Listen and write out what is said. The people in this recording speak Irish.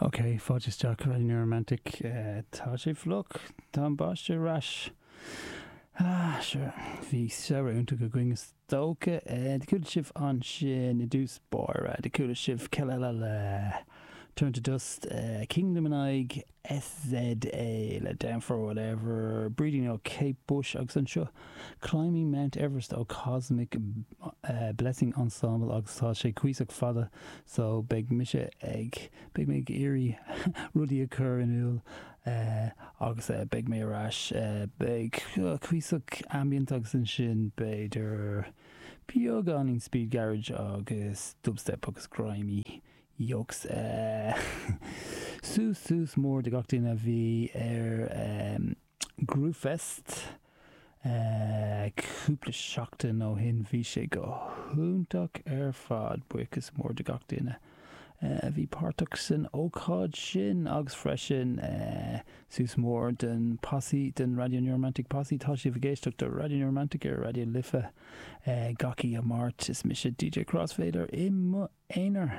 Ok, fáilte isteach Radio New Romantic. Tá sé fliuch, tá an báisteach ar ais. Ah, sure, bhí samhradh iontach againn is dócha. Do chuala sibh ansin i dtús báire, do chuala sibh Kelela le Turn to Dust, Kingdom in aghaidh SZA le Down for Whatever, Brídín ó Kate Bush agus anseo Climbing Mount Everest ó Cosmic Blessing Ensemble agus tá sé cuíosach fada so beidh mise ag, beidh mé ag iarraidh rudaí a chur in iúl agus beidh mé ar ais, beidh cuíosach ambient agus ansin b'fhéidir beagáinín speed garage agus dubstep agus grimy. Yokes. Suas suas mór do gach duine a bhí ar Groovefest cúpla seachtain ó shin. Bhí sé go hiontach ar fad. Buíochas mór do gach duine a bhí páirteach san ócáid sin agus freisin suas mór don posse, don Radio New Romantic Posse. Tá sibh ag éisteacht do Radio New Romantic ar Raidió Life gach oíche Máirt. Is mise DJ Crossfader i mo aonar.